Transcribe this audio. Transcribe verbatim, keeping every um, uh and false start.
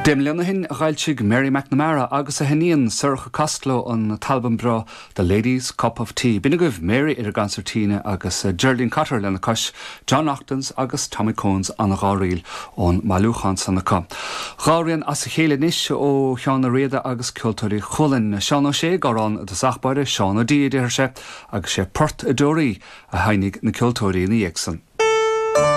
Deich mbliana ó shin a d'fhoilsigh Mary McNamara agus a hiníon Sorcha Costello an t-albam breá The Ladies Cup of Tea. B'in agaibh Mary ar an gconsairtín agus Geraldine Cotter lena cois, John Naughton's agus Tommy Cones an dhá ríl ón mbailiúchán san acu. Dhá rian as a chéile anois ó Sheán Ó Riada agus Ceoltóirí Chualann. Seán Ó Sé garán de sachbáire Seán Ó Dí a deir sé agus sé Port a Deoraí a sheinneadh na ceoltóirí ina dhiaidh san.